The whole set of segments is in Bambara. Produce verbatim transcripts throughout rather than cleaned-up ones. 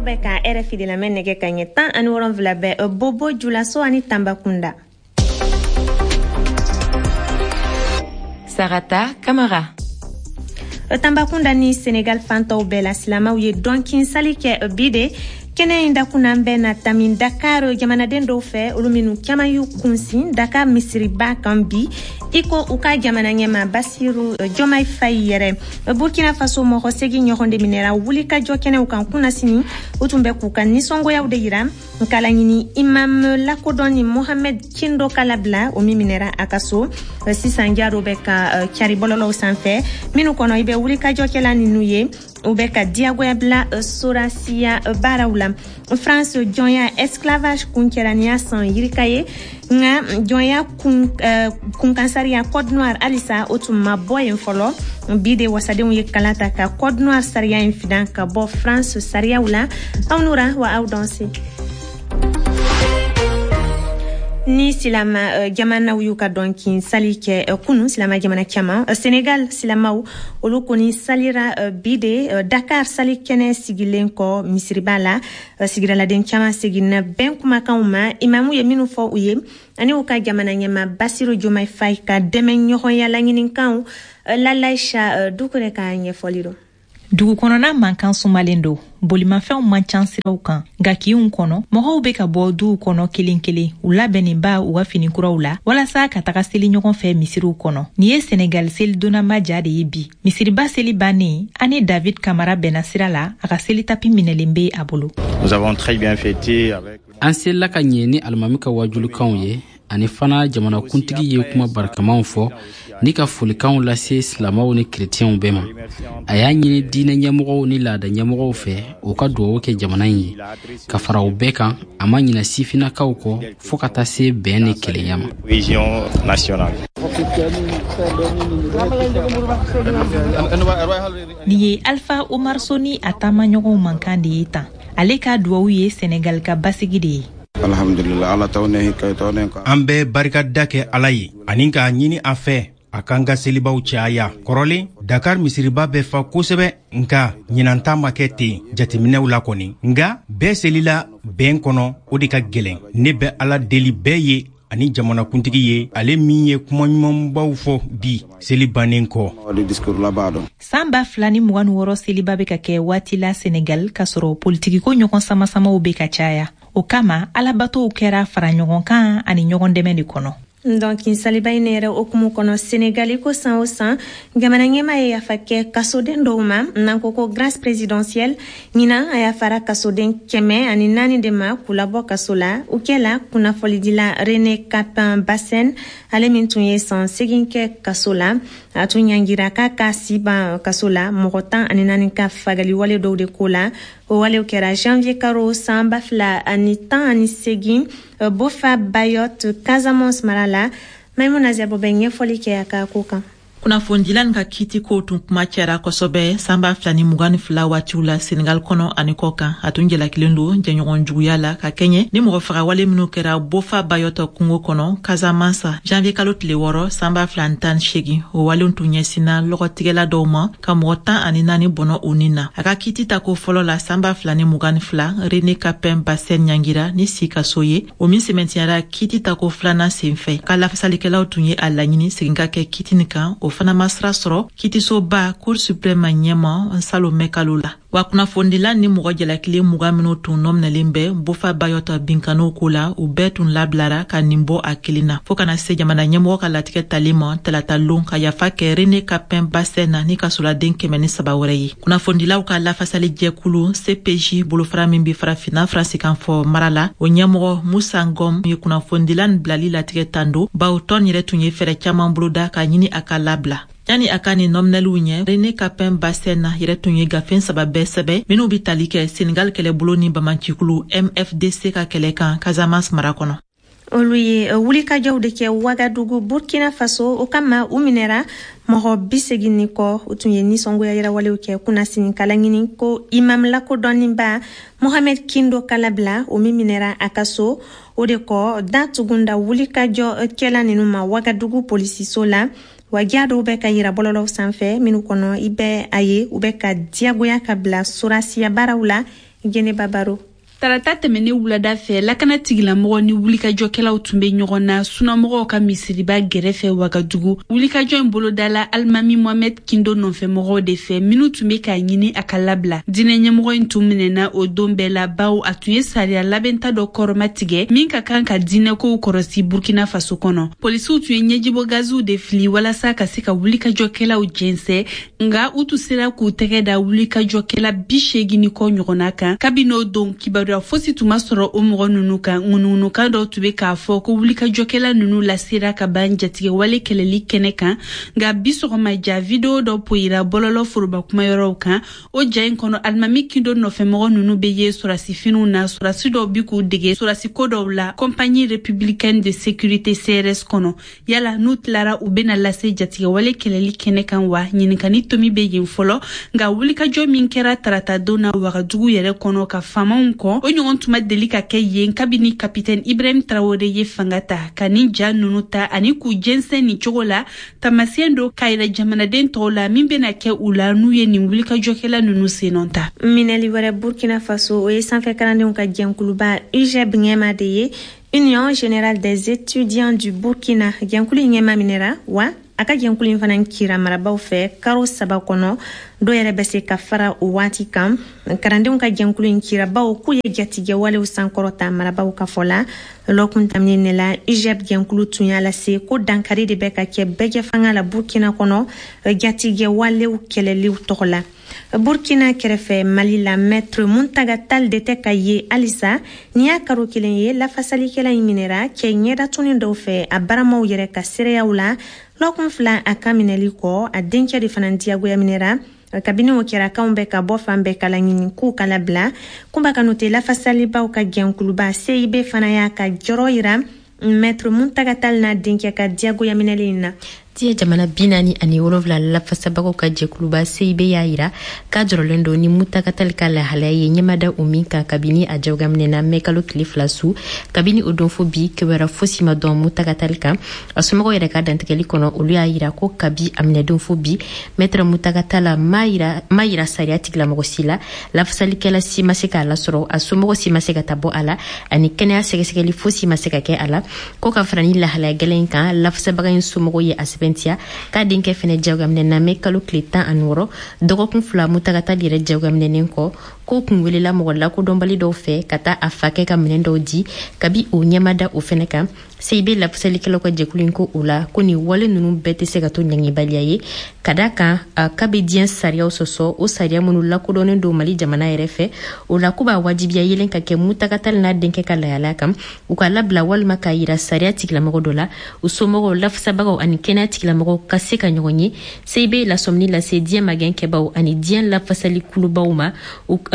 Bɛ ka R F I de lamɛn. Nɛgɛ ka ɲɛ tan ani wolonfila bɛ Bobo Julaso ani Tanbakunda. Sarata Kamara. Tanbakunda ni Senegal fantaw bɛɛ la, silamaw ye dɔnkin sali kɛ bi de. Kɛnɛ in dakunan bɛ na tami Dakar jamanaden dɔw fɛ, olu minnu caman y'u kunsin Dakar misiriba kan bi, i ko u ka jamana ɲɛma Basiru Jɔmai Fayi yɛrɛ. Burkina Faso, mɔgɔ segi ɲɔgɔn de minɛra wulikajɔ kɛnɛw kan kunnasini. U tun bɛ k'u ka nisɔngoyaw de yira k'a laɲini imam lakodɔnni Mohamed Kindo ka labila, o min minɛra a ka so. Sisan ja dɔ bɛ ka cari bɔlɔlɔw sanfɛ minnu kɔnɔ, i bɛ wulikajɔkɛla ninnu ye, u bɛ ka diyagoya bila sorasiya baaraw la. France, jɔnya esclavage kun kɛra ni y'a san yirika ye, nka jɔnya kun, uh, kunkan sariya code noir halisa o tun ma bɔ yen fɔlɔ. Bi de wasadenw ye kala ta ka code noir sariya in fidan ka bɔ France sariyaw la. Aw nura wa aw danse. Ni silama uh, jamanaw y'u ka dɔnkin sali kɛ uh, kunu, silama jamana caman, uh, Senegal silamaw olu kɔni salira uh, bi de uh, Dakar sali kɛnɛ sigilen kɔ misiriba la. uh, sigidaladen caman seginna bɛn kumakanw ma imamu ye minnu fɔ u ye, ani u ka jamana ɲɛma Basiru Jomai Fay ka dɛmɛ ɲɔgɔnya laɲinikanw. uh, Lalaisha uh, Dukure ka ɲɛfɔli don. Dugu kɔnɔna mankan sumalen don, bolimafɛnw man ca siraw kan, nka kinw kɔnɔ mɔgɔw bɛ ka bɔ duw kɔnɔ kelen kelen, u labɛnnenba u ka finikuraw la walasa ka taga seli ɲɔgɔn fɛ misiriw kɔnɔ. Nin ye Senegal selidonnaba ja de ye bi. Misiriba seli bannen, ani David Kamara bɛnna sira la, a ka seli tapi minɛlen bɛ a bolo. Nous avons très bien fêté avec An selila ka ɲɛ ni alimami ka wajulikanw ye, ani fana jamanakuntigi ye kuma barikamaw fɔ ni ka folikanw lase silamaw ni kerecɛnw bɛɛ ma. A y'a ɲini diinɛ ɲɛmɔgɔw ni laada ɲɛmɔgɔw fɛ, u ka dugawu kɛ jamana in ye. Ka fara o bɛɛ kan, a ma ɲina sifinnakaw kɔ, fɔɔ ka taa se bɛn ni kelenya ma. Cohésion nationale. Nin ye Alpha Omar Soni a taamaɲɔgɔnw mankan de ye tan. Ale ka duwawu ye Senegal ka basigi de ye. Alhamdulillah, Ala taw ne hikka taw ne. An bɛ barikada kɛ Ala ye ani k'a ɲini a fɛ a k'an ka selibaw caya. Kɔrɔlen, Dakar misiriba bɛ fa kosɛbɛ, nka ɲinan ta ma kɛ ten jateminɛw la kɔni, nka bɛɛ selila bɛn kɔnɔ, o de ka gwɛlɛn. Ne bɛ Ala deli bɛɛ ye ani jamanakuntigi ye, ale min ye kuma ɲumanbaw fɔ bi seli bannen kɔ. San ba fila ni mugan ni wɔɔrɔ seliba bɛ ka kɛ waati la Senegal k'a sɔrɔ politikiko ɲɔgɔn samasamaw bɛ ka caya. O kama, alabatow kɛra fara ɲɔgɔn kan ani ɲɔgɔn dɛmɛ de kɔnɔ. Donc saliba in yɛrɛ hokumu kɔnɔ, Senegali ko san o san jamana ɲɛma ye yafa kɛ kasoden dɔw ma, n'an ko ko grâce présidentielle. Ɲinan a yafara kasoden kɛmɛ ani naani de ma k'u labɔ kaso la. U kɛla kunnafolidila René Capin Bassène, ale min tun ye san segin kɛ kaso la, a tun ɲangira k'a ka si ban kaso la mɔgɔ tan ani naani ka fagali wale dɔw de ko la. O walew kɛra janvier karo san ba fila ani tan ani segin Bofa Bayot, Casamance mara la. Maimuna Zɛbo bɛ ɲɛfɔli kɛ a ka ko kan. Kunnafonidila ka kiti kow tun kuma cayara kosɛbɛ san ba fila ni mugan ni fila waatiw la Senegal kɔnɔ ani kɔ kan. A tun jalakilen don jɛɲɔgɔn juguya la ka kɛɲɛ ni mɔgɔ fagawale minw kɛra Bofa Bayɔtɔ kungo kɔnɔ Kazamansa janvier kalo tile wɔɔrɔ san ba fila ni tan ni segin. O walenw tun ɲɛsinna lɔgɔtigɛla dɔw ma ka mɔgɔ tan ani naani bɔnɔ u ni na. A ka kiti ta ko fɔlɔ la san ba fila ni mugan ni fila, Rene Kapɛn Basɛn ɲangira ni si kaso ye, o min sɛmɛntiyara kiti ta ko filanan sen fɛ. Ka lafasalikɛlaw tun ye a laɲini segin ka kɛ kiti nin kan, o fana ma sira sɔrɔ kitisoba Cour suprême ɲɛma salon mɛ kalo la. Wa kunnafonidila ni mɔgɔ jalakilen mugan minw tun nɔminɛlen bɛ Bofa Bayɔtɔ binkaniw ko la, u bɛɛ tun labilara ka nin bɔ a kelen na, fɔɔ kana se jamana ɲɛmɔgɔ ka latigɛ tali ma talata lon ka yafa kɛ Rene Kapɛn Basɛn na ni kasoladen kɛmɛ ni saba wɛrɛ ye. Kunnafonidilaw ka lafasali jɛkulu C P J, bolofara min be Farafinna faransikan fɔ mara la, o ɲɛmɔgɔ Musa Ngɔm ye kunnafonidila nin bilali latigɛ tando, bawo tɔn yɛrɛ tun ye fɛɛrɛ caaman boloda ka ɲini a ka labila. Yani a ka nin nɔminɛliw ɲɛ, Rene Kapɛn Basɛn na yɛrɛ tun ye gafe saba bɛɛ sɛbɛ minw be tali kɛ Senegal kɛlɛbolo ni bamancikulu M F D C ka kɛlɛ kan Casamance mara kɔnɔ. Olu ye wulikajɔw de kɛ Wagadugu, Burkina Faso. O kama u minɛra mɔgɔ bi segin ni kɔ. U tun ye nisɔngoya yɛrɛwalew kɛ kunnasini kala ɲini ko imam lakodɔnniba Mohamed Kindo kalabila, o min minɛra a ka so. O de kɔ, da tugunda wulikajɔ kɛla ninu ma Wagadugu polisiso la. Wa ja dɔw bɛ ka yira bɔlɔlɔw sanfɛ minnu kɔnɔ, i bɛ a ye u bɛ ka diyagoya ka bila sorasiya baaraw la. Geneba Baro. Tarata tɛmɛnen wulada fɛ, lakana tigilamɔgɔ ni wulikajɔkɛlaw tun bɛ ɲɔgɔn na sunamɔgɔw ka misiriba gɛrɛfɛ Wagadugu. Wulikajɔ in bolodala Alimami Mohamed Kindo nɔfɛmɔgɔw de fɛ, minnu tun bɛ k'a ɲini a ka labila. Diinɛ ɲɛmɔgɔ in tun minɛna o don bɛɛ la, bawo a tun ye sariya labɛnta dɔ kɔrɔma tigɛ min ka kan ka diinɛkow kɔrɔsi Burkina Faso kɔnɔ. Polisiw tun ye ɲɛjibɔ gaziw de fili walasa ka se ka wulikajɔkɛlaw jɛnsɛn, nka u tun sera k'u tɛgɛ da wulikajɔkɛla bi seegin ni kɔ ɲɔgɔnna kan. Kabini o don, kibaruya fosi tun ma sɔrɔ o mɔgɔ ninnu kan. Ŋunuŋunukan dɔw tun bɛ k'a fɔ ko wulikajɔkɛla ninnu lasera ka ban jatigɛwale kɛlɛli kɛnɛ kan. Nka bi sɔgɔma, ja video dɔ poyira bɔlɔlɔ foroba kumayɔrɔw kan. O ja in kɔnɔ, Alimami Kindo nɔfɛmɔgɔ ninnu bɛ ye sɔrɔdasifiniw na. Sɔrɔdasi dɔw bi k'u dege sɔrɔdasiko dɔw la Compagnie républicaine de sécurité C R S kɔnɔ. Yala n'u tilara, u bɛna lase jatigɛwale kɛlɛli kɛnɛ kan wa? Ɲininkani tomi bɛ yen fɔlɔ. Nka wulikajɔ min kɛra tarata don na Wagadugu yɛrɛ kɔnɔ ka faamaw kɔ, o ɲɔgɔn tun ma deli ka kɛ yen kabini kapitɛni Ibrahim Traoré ye fanga ta. Ka nin ja ninnu ta ani k'u jɛnsɛn nin cogo la, taamasiyɛn don k'a yira jamanaden tɔw la min bɛna kɛ u la n'u ye nin wulikajɔkɛla ninnu sennɔ ta. Minɛli wɛrɛ Burkina Faso, o ye sanfɛ kalandenw ka jɛnkuluba U G E B ɲɛma de ye, Union générale des étudiants du Burkina. Jɛnkulu in ɲɛma minɛra wa a ka jɛnkulu in fana kira marabaw fɛ karo saba kɔnɔ. Dɔw yɛrɛ bɛ se ka fara o waati kan. Kalandenw ka jɛnkulu in kirabaw k'u ye jatigɛwalew sankɔrɔta marabaw ka fɔ la. Lɔkun daminɛ ne la, U G E B jɛnkulu tun y'a lase ko dankari de bɛ ka kɛ bɛɛjɛ fanga la Burkina kɔnɔ, jatigɛwalew kɛlɛliw tɔgɔ la. Burkina kɛrɛfɛ, Mali la, Maître Muntaga Tal de tɛ ka ye halisa. N'i y'a karo kelen ye lafasalikɛla in minɛra cɛ ɲɛdatuni dɔw fɛ a baramaw yɛrɛ ka seereyaw la. Lɔkun fila a ka minɛli kɔ, a dencɛ de fana diyagoya minɛra. Kabini o kɛra, kanw bɛ ka bɔ fan bɛɛ kala ɲini k'u kala bila. Kunba Kanute, lafasalibaw ka jɛnkuluba C I B fana y'a ka jɔrɔ yira Maître Muntaga Tal n'a denkɛ ka diyagoya minɛli in na. Diɲɛ jamana bi naani ani wolonfila lafasabagaw ka jɛkuluba C I B y'a yira k'a jɔrɔlen don ni Mutaga Tali ka lahalaya ye, ɲɛmada o min kan kabini a jagoyaminɛna mɛ kalo tile fila su. Kabini o don fo bi, kibaruya fosi ma dɔn Mutaga Tali kan. A somɔgɔw yɛrɛ ka dantigɛli kɔnɔ, olu y'a yira ko kabi a minɛdon fo bi, Maître Mutaga Tala ma yira, ma yira sariya tigilamɔgɔ si la, lafasalikɛla si ma se k'a lasɔrɔ, a somɔgɔ si ma se ka ta bɔ a la, ani kɛnɛya sɛgɛsɛgɛli fosi ma se ka kɛ a la. Ko ka fara ni lahalaya gɛlɛn in kan, lafasabaga in somɔgɔw ye a sɛbɛntiya k'a denkɛ fɛnɛ jagoyaminɛna mɛ kalo tile tan ani wɔɔrɔ, dɔgɔkun fila Mutaga Tali yɛrɛ jagoyaminɛnen kɔ, ko kun welela mɔgɔ lakodɔnbali dɔw fɛ ka taa a fakɛ ka minɛn dɔw di. Kabi o ɲɛmada o fɛnɛ kan, C I B lafasalikɛlaw ka jɛkulu in ko o la ko nin wale ninnu bɛɛ tɛ se ka to ɲangibaliya ye, ka da kan k'a bɛ diɲɛ sariyaw sɔsɔ, o sariya minnu lakodɔnnen don Mali jamana yɛrɛ fɛ. O la ko b'a wajibiya yelen ka kɛ Mutaga Tali n'a denkɛ ka lahalaya kan, u ka labila walima k'a yira sariya tigilamɔgɔ dɔ la, u somɔgɔw, lafasabagaw ani kɛnɛya tigilamɔgɔw ka se ka ɲɔgɔn ye. C I B lasɔmini lase diɲɛ magɛn kɛbaw ani diɲɛ lafasali kulubaw ma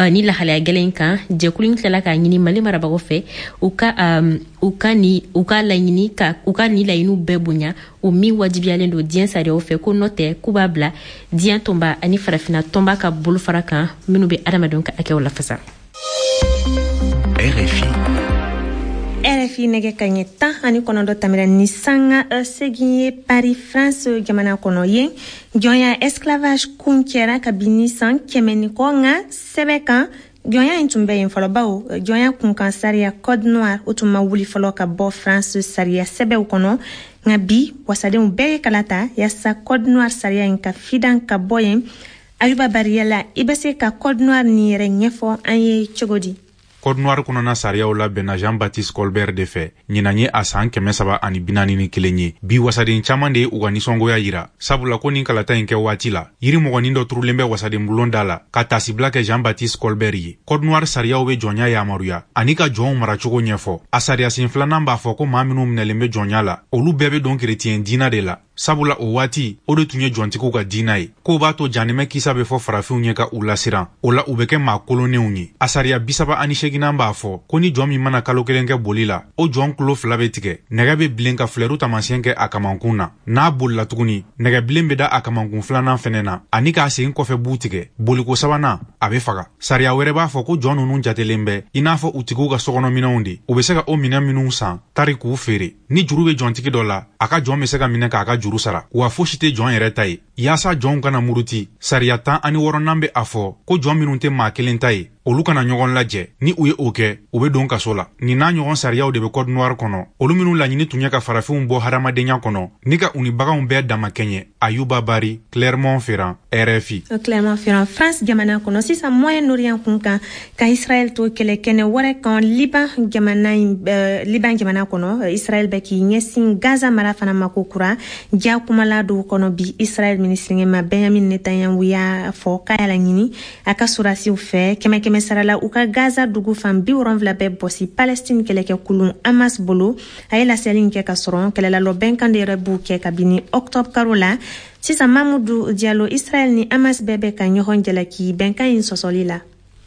ni lahalaya gɛlɛn in kan. Jɛkulu in tilala k'a ɲini Mali marabagaw fɛ, u ka um, u ka ni u ka laɲini ka u ka ni laɲiniw bɛɛ bonya, o min wajibiyalen don diɲɛ sariyaw fɛ, ko nɔ tɛ k'u b'a bila diɲɛ tɔnba ani farafina tɔnba ka bolofara kan minnu bɛ adamadenw ka hakɛw lafasa. R F I. R F I, nɛgɛ ka ɲɛ tan ani kɔnɔntɔn tamira ni sanga segin ye Paris, France jamana kɔnɔ. Yen, jɔnya, esclavage kun kɛra kabini san kɛmɛ ni kɔ, nka sɛbɛ kan, jɔnya in tun bɛ yen fɔlɔ, bawo jɔnya kunkan sariya Code noir, o tun ma wuli fɔlɔ ka bɔ France sariya sɛbɛw kɔnɔ. Nka bi, wasadenw bɛɛ ye kala ta yaasa Code noir sariya in ka fidan ka bɔ yen. Ayuba Bariyala, i bɛ se ka Code noir nin yɛrɛ ɲɛfɔ an ye cogo di? Code noir kɔnɔna sariyaw labɛnna Jean Baptiste Colbert de fɛ. Ɲinan ye a saan kɛmɛ saba ani binaani ni kelen ye. Bi, wasaden caaman de ye u ka nisɔngoya yira, sabula ko nin kalata in kɛ waati la, yiri mɔgɔnin dɔ turulen bɛ wasaden bulon da la ka tasibila kɛ Jean Baptiste Colbert ye. Code noir sariyaw be jɔnya yamaruya ani ka jɔnw maracogo ɲɛfɔ. A sariyasen filanan b'a fɔ ko maa minw minɛlen be jɔnya la, olu bɛɛ be don kereciyɛn diina de la, sabula o waati o de tun ye jɔntigiw ka diina ye. K'o b'a to janimɛ kisa be fɔ farafinw ye ka u lasiran, o la u be kɛ maa kolonnenw ye. A sariya bisaba ani seginan b'a fɔ ko ni jɔn min mana kalo kelen kɛ boli la, o jɔn kulo fila be tigɛ, nɛgɛ be bilen ka filɛru taamasiyɛn kɛ a kamankun na. N'a bolila tuguni, nɛgɛ bilen be da a kamankun filanan fɛnɛ na ani k'a sen kɔfɛ b'u tigɛ. Boliko sabanan, a be faga. Sariya wɛrɛ b'a fɔ ko jɔn nunu jatelen bɛ i n'a fɔ u tigiw ka sokɔnɔminɛnw de, u be se ka o minɛn minw san tari k'u feere. Ni juru be jɔntigi dɔ la, a ka jɔn be se ka minɛ k'a ka juru sara, wa fosi tɛ jɔn yɛrɛ ta ye. Yaasa jɔnw kana muruti, sariya tan ani wɔɔrɔnan be a fɔ ko jɔn minw tɛ maa kelen ta ye. olu kana ɲɔgɔn lajɛ. Ni u ye o kɛ, u bɛ don kaso la. Nin n'a ɲɔgɔn sariyaw de bɛ Code Noir kɔnɔ, olu minnu laɲini tun ye ka farafinw bɔ hadamadenya kɔnɔ ni ka u ni baganw bɛɛ damakɛɲɛ. Ayuba Bari, Clermont-Ferrand, R F I. Clermont-Ferrand, France jamana kɔnɔ sisan Moyen-Orient kun kan ka Israël to kɛlɛkɛnɛ wɛrɛ kan Liban jamana euh, Liban jamana kɔnɔ. Israël bɛ k'i ɲɛsin Gaza mara fana ma ko kura. Ja kumala dɔw kɔnɔ bi Israël minisiri ɲɛma Benjamin Netanyahu y'a fɔ k'a y'a laɲini a ka sɔrɔdasiw fɛ kɛmɛ kɛmɛ sara la u ka Gaza dugu fan bi wolonwula bɛɛ bɔsi Palestine kɛlɛkɛkulun Hamas bolo. A ye laseli in kɛ ka sɔrɔ kɛlɛlalɔ bɛnkan de yɛrɛ b'u kɛ kabini octobre karo la. Sisan Mamudu Diallo, Israël ni Hamas bɛɛ bɛ ka ɲɔgɔn jalaki bɛnkan in sɔsɔli la.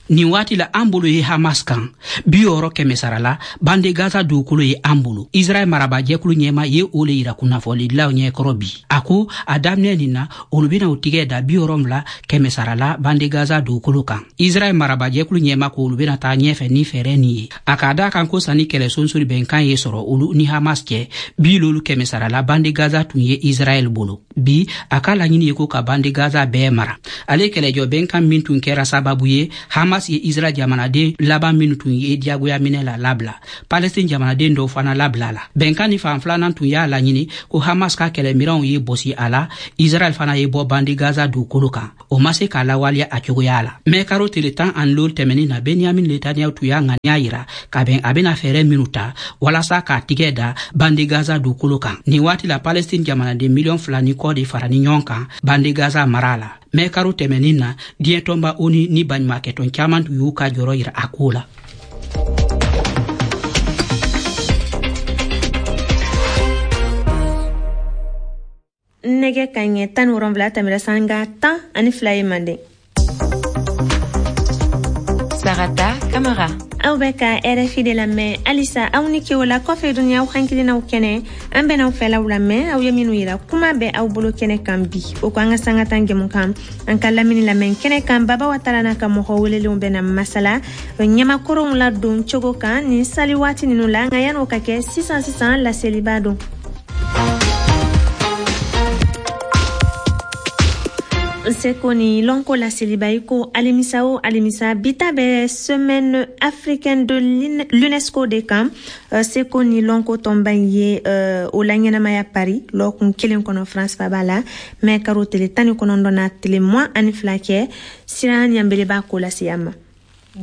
Nin waati la an bolo ye Hamas kan bi wɔɔrɔ kɛmɛ sara la bande Gaza dugukolo ye an bolo. Israɛl marabajɛkulu ɲɛma ye o le yira kunnafonidilaw ɲɛkɔrɔ bi. A ko a daminɛ nin na olu bena u tigɛ da bi wɔɔrɔnwula kɛmɛ sara la bande Gaza dugukolo kan. Israɛl marabajɛkulu ɲɛma ko olu bena taa ɲɛfɛ ni fɛɛrɛ nin ye. A k'a da kan ko sanni kɛlɛ sonsori bɛnkan ye sɔrɔ olu ni Hamas cɛ bi lolu kɛmɛ sara la bande Gaza tun ye Israɛl bolo. Bi a ka laɲini ye ko ka bande Gaza bɛɛ mara. Ale kɛlɛjɔ bɛnkan min tun kɛra sababu ye Hamas ye Israël jamanaden laban minnu tun ye diyagoya minɛ la labila. Palestine jamanaden dɔw fana labila la. Bɛnkan ni fan filanan tun y'a laɲini ko Hamas ka kɛlɛmiranw ye bɔsi a la, Israël fana ye bɔ bande Gaza dugukolo kan. O ma se k'a lawaleya a cogoya la. Mɛ karo tile tan ani loolu tɛmɛnin na Benjamin Netanyahu tun y'a ŋaniya yira ka bɛn a bɛna fɛɛrɛ minnu ta walasa k'a tigɛ da bande Gaza dugukolo kan. Nin waati la Palestine jamanaden miliyɔn fila ni kɔ de fara ni ɲɔgɔn kan bande Gaza mara la. Mɛ karo tɛmɛnin na diɲɛ tɔnba ONU ni baɲumankɛtɔn caman tun y'u ka jɔrɔ yira a ko la. Nɛgɛ ka ɲɛ tan ni wolonwula tɛmɛra sanga tan ani fila ye manden. Sarata Kamara. Aw bɛ ka R F I de lamɛn halisa. Aw ni ke o la kɔfɛ dunya aw hakilinaw kɛnɛ an bɛn'aw fɛlaw lamɛn aw ye minnu yira kuma bɛ aw bolo kɛnɛ kan bi. O ko an ka sanga tan jɛmu kan an ka lamini lamɛn kɛnɛ kan Baba Watara n'a ka mɔgɔ welelenw bɛna masala ɲamakɔrɔw ladon cogo kan nin sali waati ninnu la. Nka yan'o ka kɛ sisan sisan laseliba don. Seko ni lɔnko laseliba i ko alimisa o alimisa bita bɛ semaine africaine de l'UNESCO de kan. Seko ni lɔnko tɔnba in ye o laɲɛnamaya Paris lɔkun kelen kɔnɔ France faba la mɛ karo tele tan ni kɔnɔntɔn na tele mugan ani fila kɛ. Sira ɲanbele b'a ko lase an ma.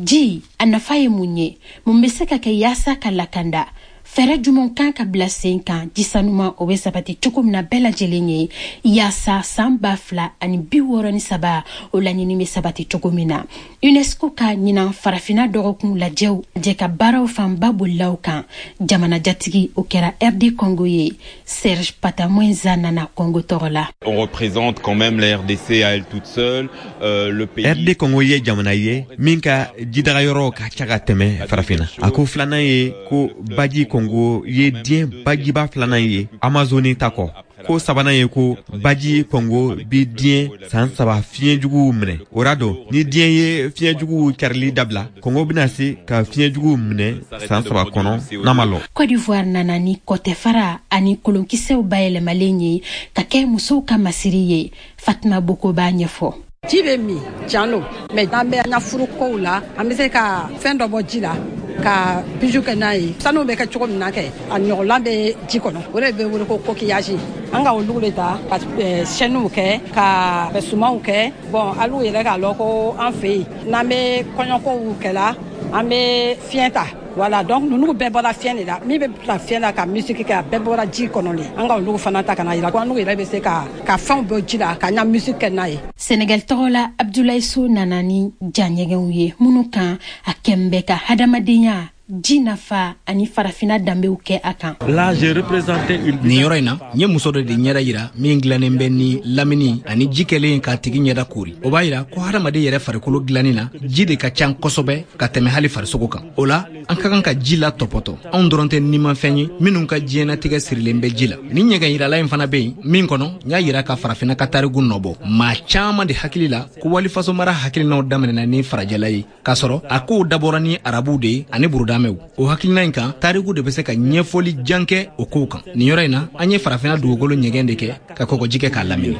Ji a nafa ye mun ye? Mun bɛ se ka kɛ yaasa ka lakanda? Fɛɛrɛ jumɛn kan ka bila sen kan ji sanuman o bɛ sabati cogo min na bɛɛ lajɛlen ye yaasa san ba fila ani bi wɔɔrɔ ni saba o laɲini bɛ sabati cogo min na? UNESCO ka ɲinan farafinna dɔgɔkun lajɛw jɛ ka baaraw fanba bolilaw kan. Jamana jatigi o kɛra R D Congo ye. Serge Patamwenza nana Congo tɔgɔ la. On représente quand même la R D C à elle toute seule, euh, le pays. R D Congo ye jamana ye min ka jidagayɔrɔ ka ca ka tɛmɛ farafinna. A ko filanan ye ko baji Congo ye diɲɛ bajiba filanan ye Amazoni ta kɔ. Ko sabanan ye ko baji Congo bi diɲɛ san saba fiɲɛjuguw minɛ. O ra don ni diɲɛ ye fiɲɛjuguw carili dabila, Congo bɛna se ka fiɲɛjuguw minɛ san saba kɔnɔ n'a ma lɔ. Côte d'Ivoire nana ni kɔtɛfara ani kolonkisɛw bayɛlɛmalen ye ka kɛ musow ka masiri ye. Fatima Boko b'a ɲɛfɔ. Ji bɛ min tiɲɛ don, mɛ n'an bɛ an ka furukow la an bɛ se ka fɛn dɔ bɔ ji la ka bijou kɛ n'a ye. Sanu bɛ kɛ cogo min na kɛ a ɲɔgɔnlan bɛ ji kɔnɔ, o de bɛ wele ko coquillage. An ka olu de ta ka chaînew kɛ ka sumanw kɛ. Bon hali u yɛrɛ k'a lɔn ko an fɛ yen n'an bɛ kɔɲɔkow kɛla an bɛ fiɲɛ ta. Voilà, donc ninnu bɛɛ bɔra fiɲɛ de la. Min bɛ bila fiɲɛ la ka musique kɛ a bɛɛ bɔra ji kɔnɔ de. An ka olu fana ta ka na yira ko an yɛrɛ bɛ se ka ka fɛnw bɔ ji la ka ɲa musique kɛ n'a ye. Sénégal tɔgɔ la Abdoulaye Sow nana ni jaɲɛgɛnw ye minnu kan a kɛn bɛ ka hadamadenya ji nafa ani farafinna danbew kɛ a kan. Nin yɔrɔ in na n ye muso dɔ de ɲɛda yira min dilannen bɛ ni lamini ani ji kɛlen k'a tigi ɲɛda koori. O b'a yira ko hadamaden yɛrɛ farikolo dilanni na ji de ka ca kosɛbɛ ka tɛmɛ hali farisogo kan. O la an ka kan ka ji la tɔpɔtɔ. Anw dɔrɔn tɛ nimafɛn ye minnu ka diɲɛnatigɛ sirilen bɛ ji la. Ni ɲɛgɛn yirala in fana bɛ yen min kɔnɔ n y'a yira ka farafinna ka tariku nɔbɔ. Maa caman de hakili la ko walifasomara hakilinaw daminɛna ni farajɛla ye k'a sɔrɔ a kow dabɔra ni arabuw de ye ani buruda. silamɛw. O hakilina in kan, tariku de bɛ se ka ɲɛfɔli jan kɛ o kow kan. Nin yɔrɔ in na, an ye farafinna dugukolo ɲɛgɛn de kɛ ka kɔgɔji kɛ k'a lamini.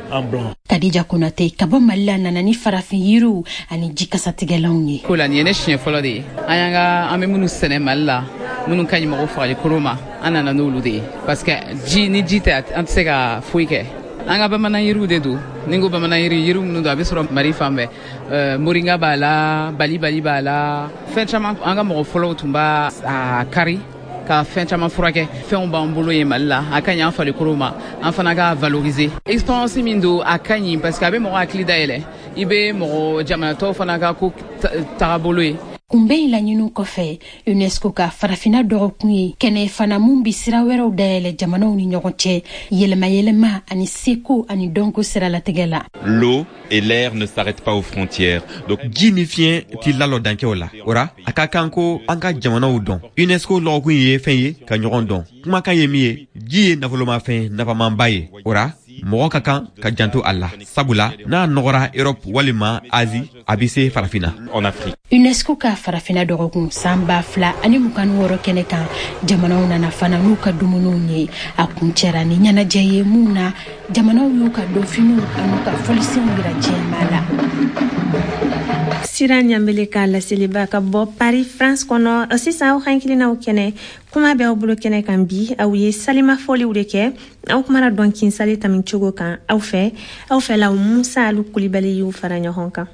Kadija Konate ka bɔ Mali la nana ni farafin yiriw ani jikasatigɛlanw ye. Ko la nin ye ne siɲɛ fɔlɔ de ye. An y'an ka an bɛ minnu sɛnɛ Mali la, minnu ka ɲi mɔgɔ farikolo ma, an nana n'olu de ye. Parce que ji ni ji tɛ, an tɛ se ka foyi kɛ. An ka bamanan yiriw de don. Ni n ko bamanan yiri, yiri minnu don a bɛ sɔrɔ Mali fan bɛɛ. Euh, moringa b'a la, balibali b'a la, fɛn caman. An ka mɔgɔ fɔlɔw tun b'a a kari ka fɛn caman furakɛ. Fɛnw b'an bolo yen Mali la, a ka ɲi an farikolo ma, an fana ka valoriser. Expérience min don, a ka ɲi parce que a bɛ mɔgɔ hakili dayɛlɛ, i bɛ mɔgɔ jamana tɔw fana ka ko tagabolo ye. Kunbɛn in laɲiniw kɔfɛ, UNESCO ka farafinna dɔgɔkun ye kɛnɛ fana mun bi sira wɛrɛw dayɛlɛ jamanaw ni ɲɔgɔn cɛ, yɛlɛma-yɛlɛma ani seko ani dɔnko siralatigɛ la. L'eau et l'air ne s'arrêtent pas aux frontières. Donc ji ni fiɲɛ ti lalɔ dancɛw la. O ra, a ka kan ko an ka jamanaw dɔn. UNESCO lɔgɔkun ye fɛn ye ka ɲɔgɔn dɔn. Kumakan ye min ye, ji ye nafolomafɛn nafamanba ye. O ra, mɔgɔ ka kan ka janto a la, sabula n'a nɔgɔra Europe walima Asie, a bɛ se farafinna. En Afrique. UNESCO ka farafinna dɔgɔkun san ba fila ani mugan ni wɔɔrɔ kɛnɛ kan, jamanaw nana fana n'u ka dumuniw ye. A kuncɛra ni ɲɛnajɛ ye mun na jamanaw y'u ka dɔnfiniw an'u ka fɔlisenw yira diɲɛmaa la. Sira Ɲanbele ka laseliba ka bɔ Paris, France kɔnɔ. Sisan aw hakilinaw kɛnɛ, kuma bɛ aw bolo kɛnɛ kan bi. Aw ye salima fɔliw de kɛ, aw kumana dɔnkin sali tami cogo kan aw fɛ. Aw fɛlaw Musa Alu Kulibali y'u fara ɲɔgɔn kan.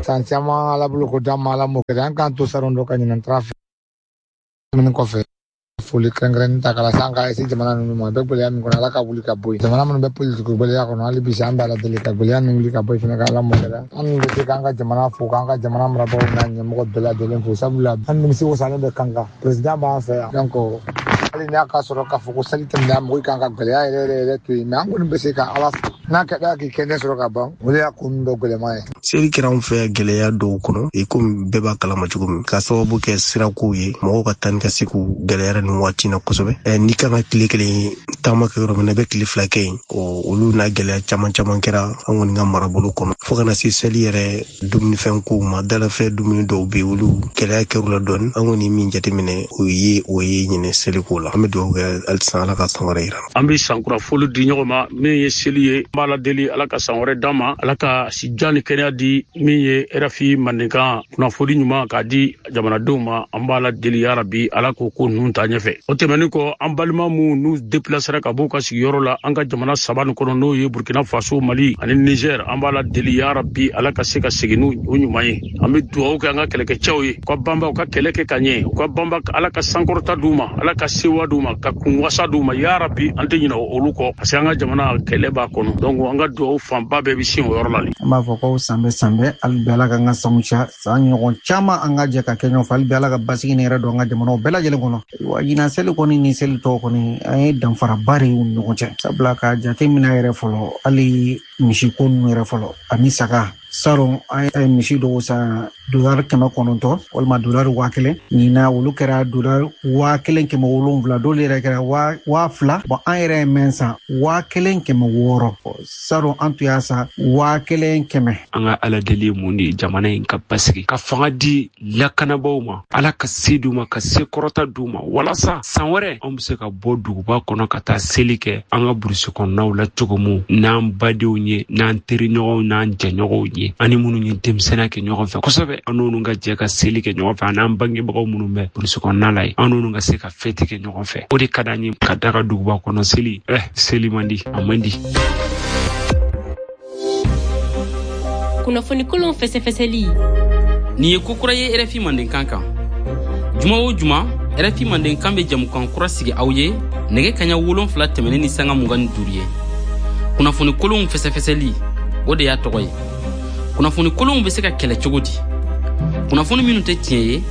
San caman Ala bolo ko d'an ma, Ala m'o kɛ. An k'an to salon dɔ ka ɲinan trafic tɛmɛnen kɔfɛ, foli kɛrɛnkɛrɛnnen ta k'a lase an ka A E S jamana ninnu ma. A bɛ gɛlɛya min kɔnɔ, Ala ka wuli ka bɔ yen. Jamana minnu bɛ politiki gɛlɛya kɔnɔ, hali bi an bɛ Ala deli ka gɛlɛya ninnu wuli ka bɔ yen fana, ka Ala m'o kɛ. An bɛ se k'an ka jamana fo, k'an ka jamana marabagaw n'a ɲɛmɔgɔ bɛɛ lajɛlen fo, sabula an nimisi wasalen bɛ kan kan président b'an fɛ yan. Donc hali n'a ka sɔrɔ k'a fɔ ko sali tɛmɛna, mɔgɔ kan ka gɛlɛya yɛrɛ yɛrɛ yɛrɛ to yen, mais an kɔni bɛ se ka Ala fo n'a kɛra k'i kɛnɛ sɔrɔ ka ban, o de y'a ko ninnu dɔ gɛlɛman ye. Seli kɛra anw fɛ gɛlɛya dɔw kɔnɔ, i komi bɛɛ b'a kalama cogo min, k'a sababu kɛ sirakow ye, mɔgɔw ka taa ni ka segu gɛlɛyara nin waati na kosɛbɛ. N'i kan ka tile kelen taama kɛ yɔrɔ min na, i bɛ tile fila kɛ yen. Olu n'a gɛlɛya caman caman kɛra an kɔni ka marabolo kɔnɔ, fo kana se seli yɛrɛ dumunifɛn kow ma. Dalafɛ dumuni dɔw bɛ yen, olu gɛlɛya kɛr'u la dɔɔni. An kɔni min jateminɛ, o ye o ye ɲinɛ seliko la. An bɛ dugawu kɛ halisa Ala ka san wɛrɛ yira. An bɛ sankura foli di ɲɔgɔn ma. Min ye seli ye, an b'a la deli Ala ka san wɛrɛ d'an ma, Ala ka sijan ni kɛnɛya di. Min ye R F I mandenkan kunnafoni ɲuman k'a di jamanadenw ma, an b'a la deli yarabi Ala k'o ko ninnu ta ɲɛfɛ. O tɛmɛnen kɔ, an balima minnu n'u déplacera ka bɔ u ka sigiyɔrɔ la an ka jamana saba nin kɔnɔ, n'o ye Burkina Faso, Mali ani Niger, an b'a la deli yarabi Ala ka se ka segin n'u ɲuman ye. An bɛ dugawu kɛ an ka kɛlɛkɛcɛw ye, u ka banba, u ka kɛlɛ kɛ ka ɲɛ, u ka banba, Ala ka sankɔrɔta d'u ma, Ala ka sewa d'u ma, ka kunwasa d'u ma yarabi. An tɛ ɲinɛ olu kɔ, parce que an ka jamana kɛlɛ b'a kɔnɔ. Donc an ka dugawu fanba bɛɛ bɛ sin o yɔrɔ la. An b'a fɔ ko san bɛ san bɛɛ, hali bi Ala k'an ka sanw ca, san ɲɔgɔn caman an ka jɛ ka kɛ ɲɔgɔn fɛ. Hali bi Ala ka basigi ni yɛrɛ don an ka jamanaw bɛɛ lajɛlen kɔnɔ. Wa ɲinan seli kɔni ni seli tɔw kɔni, an ye danfaraba de y'u ni ɲɔgɔn cɛ, sabula ka jate minɛ yɛrɛ fɔlɔ, hali misiko ninnu yɛrɛ fɔlɔ ani saga. Salon an ye misi dɔw san dolari kɛmɛ kɔnɔntɔn walima dolari waa kelen, ɲinan olu kɛra dolari waa kelen kɛmɛ wolonwula, dɔw yɛrɛ kɛra waa fila. Bɔn an yɛrɛ ye mɛn san waa kelen kɛmɛ wɔɔrɔ, salon an tun y'a san waa kelen kɛmɛ. An ka Ala deli ye mun de ye? Jamana in ka basigi, ka fanga di lakanabaaw ma, Ala ka se d'u ma, ka se kɔrɔta d'u ma, walasa san wɛrɛ anw bɛ se ka bɔ duguba kɔnɔ ka taa seli kɛ an ka burusi kɔnɔnaw la cogo min, n'an badenw ye, n'an teriɲɔgɔnw, n'an jɛɲɔgɔnw ye, ani minnu ye denmisɛnninya kɛ ɲɔgɔn fɛ kosɛbɛ, an n'olu ka jɛ ka seli kɛ ɲɔgɔn fɛ, an n'an bangebagaw minnu bɛ burusi kɔnɔna la ye, an n'olu ka se ka fɛti kɛ ɲɔgɔn fɛ. O de ka d'an ye ka da ka duguba kɔnɔ seli. Eh, seli man di, a man di. Kunnafoni kolon fɛsɛfɛsɛli. Nin ye ko kura ye R F I mandenkan kan. Juma o juma, R F I mandenkan bɛ jamukan kura sigi aw ye nɛgɛ kaɲa wolonfila tɛmɛnen ni sanga mugan ni duuru ye. Kunnafoni kolonw fɛsɛfɛsɛli, o de y'a tɔgɔ ye. Kunnafoni kolonw bɛ se ka kɛlɛ cogo di? Kunnafoni minnu tɛ tiɲɛ ye,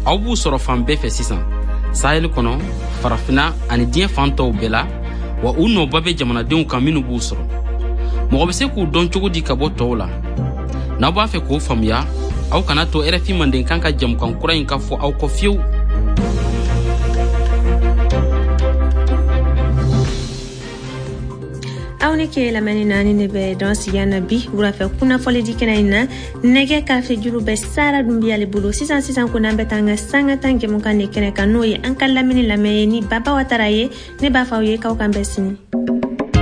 aw b'u sɔrɔ fan bɛɛ fɛ sisan, Sahel kɔnɔ, farafinna ani diɲɛ fan tɔw bɛɛ la, wa u nɔba bɛ jamanadenw kan minnu b'u sɔrɔ. Mɔgɔ bɛ se k'u dɔn cogo di ka bɔ tɔw la? N'aw b'a fɛ k'o faamuya, aw kana to R F I mandenkan ka jamukan kura in ka fɔ aw kɔ fiyewu. Aw ni ke lamɛnni na, ni ne bɛ dan sigi an na bi wulafɛ kunnafɔli di kɛnɛ in na. Nɛgɛ karafe juru bɛ Sara Dunbiya le bolo sisan. Sisan ko n'an bɛ taa an ka sanga tan jɛmukan de kɛnɛ kan, n'o ye an ka lamini lamɛn ye ni Baba Watara ye. Ne b'a fɔ aw ye k'aw kan bɛn sini.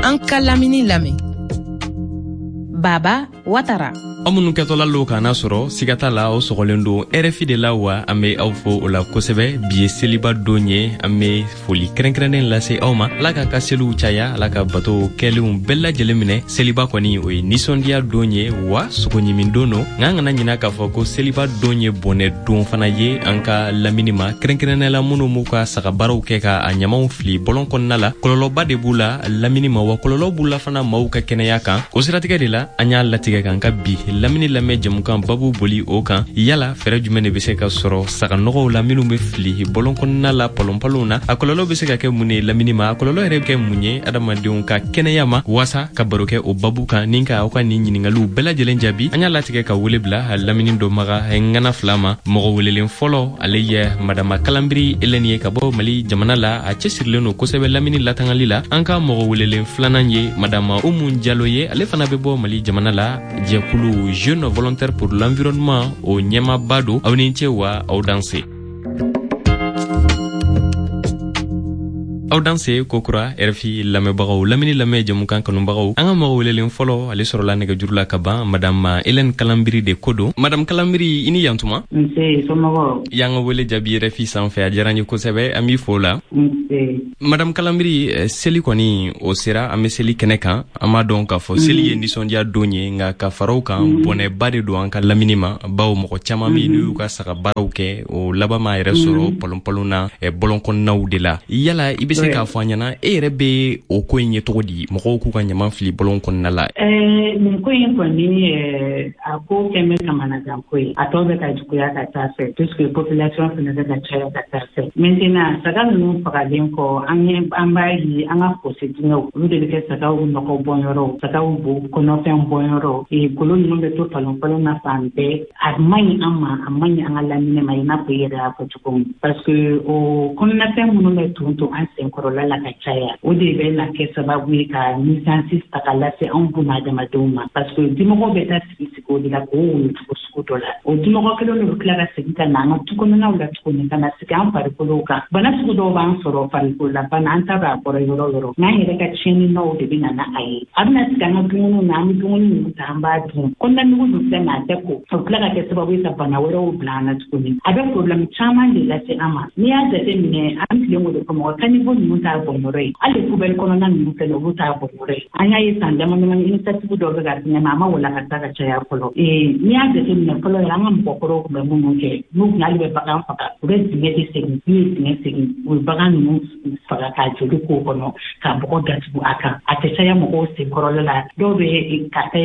An ka lamini lamɛn, Baba Watara. Aw minnu kɛtɔla lo k'an sɔrɔ, siga t'a la aw sɔgɔlen don R F I de la wa. An be aw fo o la kosɛbɛ. Bi ye seliba don ye, an be foli kɛrɛnkɛrɛnnen lase aw ma. Ala k'a ka seliw caya, Ala ka bato kɛlenw bɛɛ lajɛlen minɛ. Seliba kɔni, o ye ninsɔndiya don ye wa sogoɲimi don don, nka an kana ɲina k'a fɔ ko seliba don ye bɔnɛ don fana ye an ka lamini ma, kɛrɛnkɛrɛnnɛ la minnu b'u ka sagabaaraw kɛ ka a ɲamaw fili bɔlɔn kɔnɔna la. Kɔlɔlɔba de b'u la lamini ma, wa kɔlɔlɔ b'u la fana maaw ka kɛnɛya kan. O siratigɛ de la, an y'a latigɛ k'an ka bi lamini lamɛn jɛmukan babu boli o kan: yala fɛɛrɛ jumɛn de be se ka sɔrɔ saganɔgɔw la minw be fili bɔlɔn kɔnɔna la, palonpalonw na? A kɔlɔlɔ be se ka kɛ mun ye lamini ma? A kɔlɔlɔ yɛrɛ be kɛ mun ye adamadenw ka kɛnɛya ma? Waasa ka baro kɛ o babu kan ni ka aw ka nin ɲiningaliw bɛɛ lajɛlen jaabi, an y'a latigɛ ka wele bila lamini dɔnbaga ŋana fila ma. Mɔgɔ welelen fɔlɔ, ale ye Madama Kalanbiri Elɛni ye ka bɔ Mali jamana la. A cɛsirilen don kosɛbɛ lamini latangali la. An ka mɔgɔ welelen filanan ye Madama Umu Jalo ye, ale fana bɛ bɔ Mali jamana la, jɛkulu Jeune Volontaire pour l'Environnement o ɲɛmaba don. Aw ni ce wa aw danse. Aw danse kokura, R F I lamɛnbagaw, lamini lamɛn jɛmukan kanubagaw. An ka mɔgɔ welelen fɔlɔ, ale sɔrɔla nɛgɛjuru la ka ban. Madame Hélène Kalanbiri de ko don. Madame Kalanbiri, i ni yantuma. Nse, somɔgɔw? Y'an ka wele jaabi R F I sanfɛ, a diyara n ye kosɛbɛ, an b'i fo la. Nse. Madame Kalanbiri, seli kɔni o sera, an be seli kɛnɛ kan. An b'a dɔn k'a fɔ seli ye nisɔndiya don ye, nka ka faraw kan, bɔnɛba de don an ka lamini ma, bawo mɔgɔ caaman be n'u y'u ka saga baaraw kɛ, o laban m'a yɛrɛ sɔrɔ palonpalon na, bɔlɔn kɔnɔnaw de la. Yala i be se k'a fɔ an ɲɛna, e yɛrɛ be o ko in ye cogo di, mɔgɔw k'u ka ɲaman fili bɔlɔn kɔnɔna la? Nin ko in kɔni, a ko kɛn bɛ kamanagan ko ye. A tɔ bɛ ka juguya ka taa fɛ, puisque population fana bɛ ka caya ka taa fɛ. Maintenant, saga ninnu fagalen kɔ, an ye an b'a ye an ka fosse dingɛw, olu de bɛ kɛ sagaw nɔgɔ bɔnyɔrɔw, sagaw bo kɔnɔfɛn bɔnyɔrɔ. Golo ninnu bɛ to palon palon na fan bɛɛ. A man ɲi an ma, a man ɲi an ka lamini ma, i n'a fɔ i yɛrɛ y'a fɔ cogo min, parce que o kɔnɔnafɛn minnu bɛ ton ton an senkɔrɔla la ka caya, o de bɛ na kɛ sababu ye ka nuisance ta ka lase anw bunadamadenw ma, parce que dimɔgɔw bɛ taa sigi sigi o de la k'o woyo cogo sugu dɔ la. O dimɔgɔ kelen de bɛ tila ka segin ka na an ka du kɔnɔnaw la tuguni, ka na sigi an farikolow kan. Bana sugu dɔw b'an sɔrɔ, farikolola bana, an t'a dɔn a bɔra yɔrɔ o yɔrɔ, n'an yɛrɛ ka tiɲɛni nɔw de bɛ na n'a ye. A bɛna sigi an ka dumuniw na, an bɛ dumuni minnu ta, an b'a dun, kɔnɔna nugu dun filɛ nin ye, a tɛ ko, o bɛ tila ka kɛ sababu ye ka bana wɛrɛw bila an na tuguni. A bɛ problème caman de lase an ma. N'i y'a jateminɛ, an tilen o de fɔ, mɔgɔ caniveau ninnu t'a bɔnyɔrɔ ye, hali poubelle kɔnɔna ninnu fɛnɛ, olu t'a bɔnyɔrɔ ye. An y'a ye san dama damani, initiative dɔw bɛ ka fɛngɛ, a ma wala ka taa ka caya fɔlɔ. N'i y'a jateminɛ fɔlɔ yɛrɛ, an ka mɔgɔkɔrɔw tun bɛ minnu kɛ, n'u tun hali bɛ bagan faga, u bɛ dingɛ de segin. N'u ye dingɛ segin, u bɛ bagan ninnu faga k'a joli k'o kɔnɔ, ka bɔgɔ datugu a kan, a tɛ caya mɔgɔw senkɔrɔla la. Dɔw bɛ ka kɛ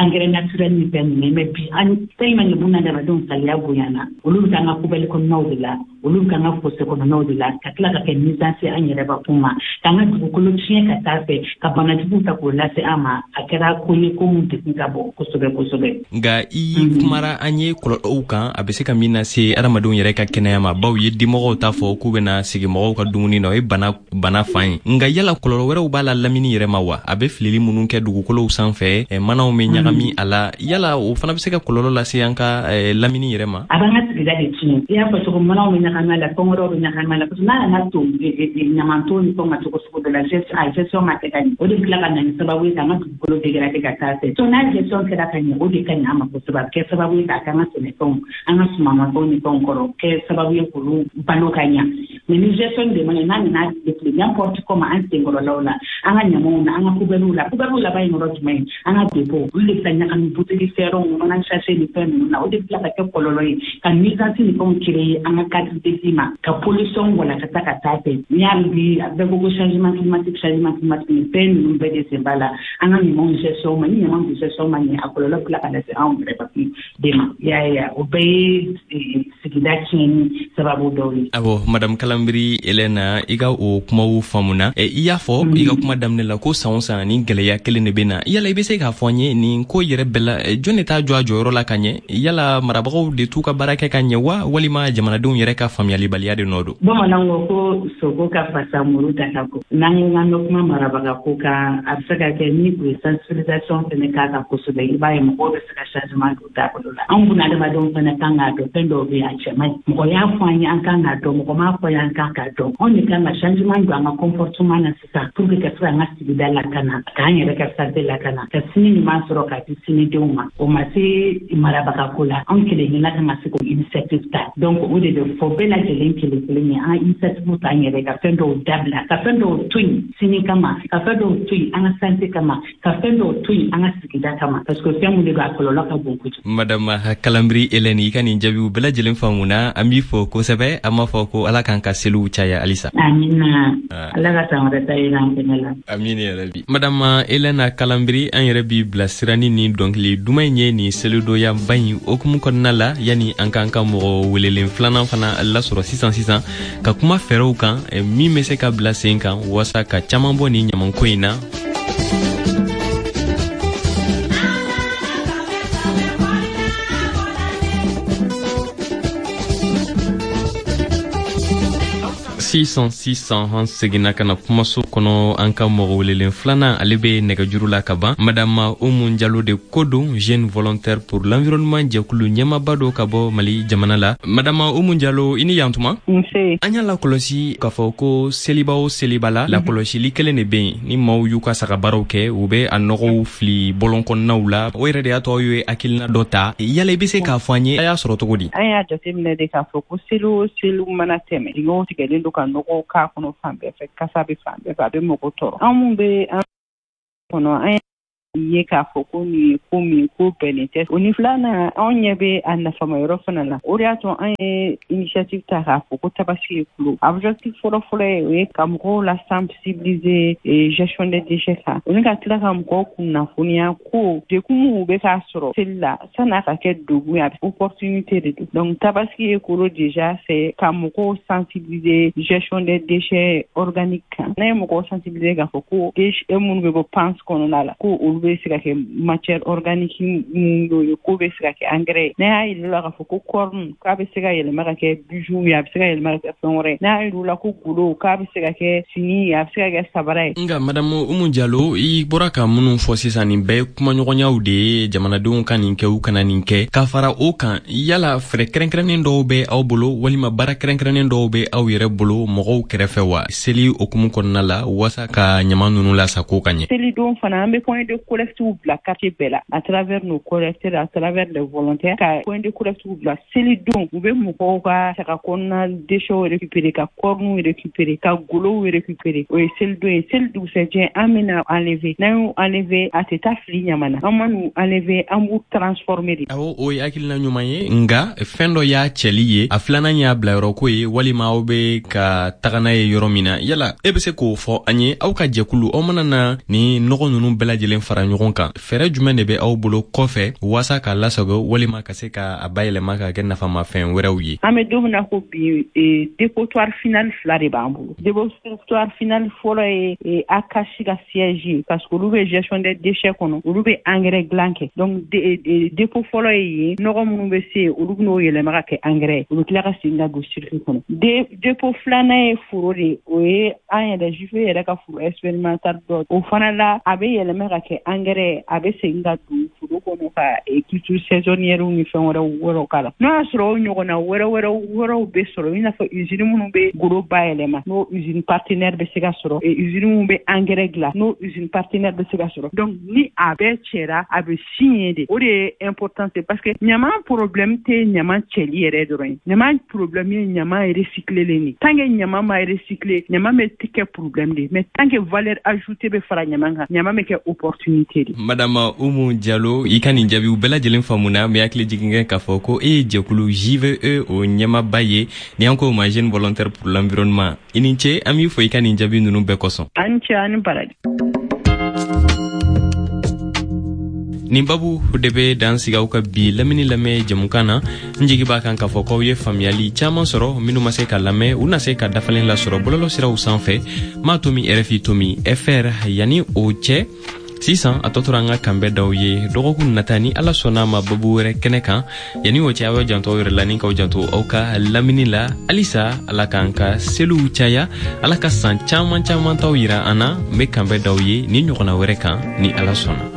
engrais naturel ni fɛn ninnu ye. Mais bi, an tellement que bunadamadenw saliya bonyana, olu bɛ taa an ka poubelle kɔnɔnaw de la, olu bɛ an ka fosse kɔnɔnaw de la, ka tila ka kɛ nuisance an yɛrɛ bakun ma, k'an ka dugukolo tiɲɛ ka taa fɛ, ka banajuguw ta k'o lase an ma. A kɛra ko ye ko mun degun ka bon kosɛbɛ kosɛbɛ. Nka i kumara an ye kɔlɔlɔw kan, a bɛ se ka min lase adamadenw yɛrɛ ka kɛnɛya ma, baw ye dimɔgɔw t'a fɔ k'u bɛna sigi mɔgɔw ka dumuni na, o ye bana bana fan ye. Nka yala kɔlɔlɔ wɛrɛw b'a la lamini yɛrɛ ma wa? A bɛ filili minnu kɛ dugukolow sanfɛ, manaw bɛ ɲagami a la, yala o fana bɛ se ka kɔlɔlɔ lase an ka lamini yɛrɛ ma? A b'an ka sigida de tiɲɛ. I y'a fɔ cogo, manaw bɛ ɲagami a la, fɛn wɛrɛw bɛ ɲagami a la, parce que n'a nana to ɲamanton ni fɛnw ka cogo sugu dɔ la, a gestion ma kɛ ka ɲɛ, o de bɛ tila ka na ni sababu ye k'an ka dugukolo dégrader ka taa fɛ. So n'a gestion kɛra ka ɲɛ, o de ka ɲi an ma kosɛbɛ. A bɛ kɛ sababu ye k'a kɛ an ka sɛnɛfɛnw, an ka sumanmafɛnw ni fɛnw kɔrɔ, kɛ sababu ye k'olu balo ka ɲa. Mais ni gestion de ma ɲɛ, n'a nana défilé n'importe comment an senkɔrɔlaw la, an ka ɲamanw na, an ka poubelles la, poubelles laban ye yɔrɔ jumɛn ye? An ka dépôt, olu de bɛ taa ɲagami buteli fɛrɛnw, mana sachet ni fɛn ninnu na. O de bɛ tila ka kɛ kɔlɔlɔ ye ka nuisance ni fɛnw créer an ka cadre de vie ma, ka pollution walakata ka taa fɛ. N'i y'a bi, a bɛɛ ko ko changement climatique, changement climatique, nin fɛn ninnu bɛɛ de sen b'a la. An ka ɲamanw gestion ma, ni ɲamanw gestion ma ɲɛ, a kɔlɔlɔ bɛ tila ka lase anw yɛrɛ bakun de ma. I y'a ye, o bɛɛ ye sigida sigida tiɲɛni sababu dɔw ye. Awɔ, Madame Kalanbiri Elena, i ka o kumaw faamuna. I y'a fɔ i ka kuma daminɛ la ko san o san ni gɛlɛya kelen de bɛ na. Yala i bɛ se k'a fɔ an ye nin ko yɛrɛ bɛɛ la, jɔn de t'a jɔ a jɔyɔrɔ la ka ɲɛ? Yala marabagaw de t'u ka baara kɛ ka ɲɛ wa, walima jamanadenw yɛrɛ ka faamuyalibaliya de nɔ don? Bamananw ko ko sogo ka fasa muru ta ka ko. N'an ko k'an bɛ kuma marabaga ko kan, a bɛ se ka kɛ ni u ye sensibilisation fɛnɛ k'a kan kosɛbɛ, i b'a ye mɔgɔw bɛ se ka changement don taabolo la. Anw buna adamadenw fɛnɛ kan k'a dɔn fɛn dɔw bɛ yen a cɛ man ɲi. Mɔgɔ y'a fɔ an ye an kan k'a dɔn, mɔgɔ m'a fɔ an ye an kan k'a dɔn. Anw de kan ka changement don an ka comportement na sisan pour que ka se k'an ka sigida lakana, k'an yɛrɛ ka santé lakana, ka sini ɲuman sɔrɔ k'a di sinidenw ma. O ma se marabaga ko la, anw kelen kelenna kan ka se k'o initiative ta. Donc o de bɛ fɔ bɛɛ lajɛlen kelen kelen ye, an initiative ta an yɛrɛ ka fɛn dɔw dabila, ka fɛn dɔw to yen sini kama, ka fɛn dɔw to yen an ka santé kama, ka fɛn dɔw to yen an ka sigida kama, parce que fɛn mun de don a kɔlɔlɔ ka bon kojugu. Madame Kalanbiri Hélène, i ka nin jaabiw bɛɛ lajɛlen faamuna, an b'i fo kosɛbɛ. An b'a fɔ ko Ala k'an ka seliw caya halisa. Amina, Ala ka san wɛrɛ ta yira an fɛnɛ la. Amina yarabi. Madame Hélène Kalanbiri, an yɛrɛ b'i bilasira ni nin dɔnkili duman in ye nin selidoyaba in hokumu kɔnɔna la, yani an k'an ka mɔgɔ welelen filanan fana lasɔrɔ sisan sisan ka kuma fɛɛrɛw kan min bɛ se ka bila sen kan walasa ka caman bɔ nin ɲamanko in na. Sisan sisan an seginna ka na kumaso kɔnɔ, an ka mɔgɔ welelen filanan ale bɛ nɛgɛjuru la ka ban. Madame Oumou Diallo de ko don, jeune volontaire pour l'environnement jɛkulu ɲɛmaaba dɔ ka bɔ Mali jamana la. Madame Oumou Diallo, i ni yantuma. Nse. An y'a lakɔlɔsi k'a fɔ ko seliba o seliba la, lakɔlɔsili kelen de bɛ yen. Ni maaw y'u ka sagabaaraw kɛ, u bɛ a nɔgɔw fili bɔlɔn kɔnɔnaw la. O yɛrɛ de y'a to aw ye hakilina dɔ ta. Yala i bɛ se k'a fɔ an ye, a y'a sɔrɔ cogo di? An y'a jateminɛ de k'a fɔ ko seli o seli mana tɛmɛ, dingɛw tigɛlen don ka nɔgɔw k'a kɔnɔ fan bɛɛ fɛ, kasa bɛ fan bɛɛ fɛ, a bɛ mɔgɔ tɔɔrɔ. An mun bɛ an kɔnɔ, an ye k'a fɔ ko nin ye ko min ko bɛnnen tɛ. O ni filanan, anw ɲɛ bɛ a nafama yɔrɔ fana la. O de y'a to an ye initiative ta k'a fɔ ko tabaski ye kulo. Objectif fɔlɔ-fɔlɔ ye o ye ka mɔgɔw la sensibiliser gestion des déchets kan. O ni ka tila ka mɔgɔw kunnafoniya ko degun minnu bɛ k'a sɔrɔ seli la san'a ka kɛ degun ye, a bɛ opportunité de don. Donc tabaski ye kolo déjà c'est ka mɔgɔw sensibiliser gestion des déchets organiques kan. N'an ye mɔgɔw sensibiliser k'a fɔ ko déchets minnu bɛ bɔ panse kɔnɔna la, ko olu bɛ se ka kɛ matière organique minnu y'o ye, k'o bɛ se ka kɛ engrais ye. N'a y'a yir'u la k'a fɔ ko corne k'a bɛ se ka yɛlɛma ka kɛ bijou ye, a bɛ se ka yɛlɛma ka kɛ fɛn wɛrɛ ye. N'a y'a yir'u la ko golo k'a bɛ se ka kɛ fini ye, a bɛ se ka kɛ sabara ye. Nka Madame Oumou Diallo, i bɔra ka minnu fɔ sisan, nin bɛɛ ye kumaɲɔgɔnyaw de ye, jamanadenw ka nin kɛ u kana nin kɛ. Ka fara o kan, yala fɛɛrɛ kɛrɛnkɛrɛnnen dɔw bɛ aw bolo walima baara kɛrɛnkɛrɛnnen dɔw bɛ aw yɛrɛ bolo mɔgɔw kɛrɛfɛ wa seli hokumu kɔnɔna la walasa ka ɲama ninnu lasako ka ɲɛ? Selidon fana an bɛ point de collecte bila quartier bɛɛ la, à travers nos collecteurs, à travers les volontaires, ka point de collecte bila selidon. U bɛ mɔgɔw ka saga kɔnɔna déchets récupérer, ka cornes récupérer, ka golow récupérer. O ye selidon ye. Seli dugusɛjɛ an bɛna enlever. N'an y'u enlever, a tɛ taa fili ɲama na. An man'u enlever, an b'u transformer de. Awɔ, o ye hakilina ɲuman ye, nka fɛn dɔ y'a cɛli ye, a filanan y'a bilayɔrɔko ye, walima aw bɛ ka taga n'a ye yɔrɔ min na. Yala e bɛ se k'o fɔ an ye, aw ka jɛkulu, aw mana na ni nɔgɔ ninnu bɛɛ lajɛlen fara ɲɔgɔn kan, fɛɛrɛ jumɛn de bɛ aw bolo kɔfɛ walasa k'a lasago walima ka se k'a bayɛlɛma ka kɛ nafamafɛn wɛrɛw ye? An bɛ don min na ko bi, dépotoir final fila de b'an bolo. Dépotoir final fɔlɔ ye A C A S ka siège ye, parce que olu bɛ gestion des déchets kɔnɔ, olu bɛ engrais dilan kɛ. Donc dépôt fɔlɔ ye yen, nɔgɔ minnu bɛ se yen, olu bɛn'o yɛlɛma ka kɛ engrais ye, u bɛ tila ka segin ka don circuit kɔnɔ. Dépôt filanan ye foro de ye, o ye an yɛrɛ J F yɛrɛ ka foro expérimental dɔ. O fana la, a bɛ yɛlɛma ka kɛ engrais, a bɛ segin ka don foro kɔnɔ ka culture saisonnière ni fɛn wɛrɛw wɛrɛw k'a la. N'o y'a sɔrɔ o ɲɔgɔnna wɛrɛ wɛrɛw wɛrɛw bɛ sɔrɔ, i n'a fɔ usine minnu bɛ goro bayɛlɛma, n'o usine partenaire bɛ se ka sɔrɔ, usine minnu bɛ engrais dilan, n'o usine partenaire bɛ se ka sɔrɔ. Donc ni a bɛɛ cɛra, a bɛ signer de. O de ye importance, parce que ɲaman problème tɛ ɲaman cɛli yɛrɛ dɔrɔn ye. Ɲaman problème ye ɲaman recycler de. Tant que ɲaman ma recycler, ɲaman bɛ kɛ problème de. Mais tant que valeur ajoutée bɛ fara ɲaman kan, ɲaman bɛ kɛ opportunité de. Madame Oumou Diallo, i ka nin jaabiw bɛɛ lajɛlen faamuna. N bɛ hakili jigin kɛ k'a fɔ ko e ye jɛkulu J V E o ɲɛmaaba ye, ni an k'o ma Jeune Volontaire pour l'environnement. I ni ce, an b'i fo i ka nin jaabi ninnu bɛɛ kosɔn. An ni ce, an ni baraji. Nin babu de bɛ dan sigi aw ka bi lamini lamɛn jɛmukan na. N jigi b'a kan k'a fɔ k'aw ye faamuyali caman sɔrɔ. Minnu ma se ka lamɛn, u na se ka dafalen lasɔrɔ bɔlɔlɔ siraw sanfɛ, m'a tomi R F I tomi F R. Yanni o cɛ, sisan a tɔ tora an ka kanbɛ daw ye dɔgɔkun nata, ni Ala sɔnna ma, babu wɛrɛ kɛnɛ kan. Yanni o cɛ, aw janto aw yɛrɛ la ni k'aw janto aw ka lamini la. Halisa, Ala k'an ka seliw caya, Ala ka san caaman caaman taw yira an na. N be kanbɛ daw ye ni ɲɔgɔnna wɛrɛ kan, ni Ala sɔnna.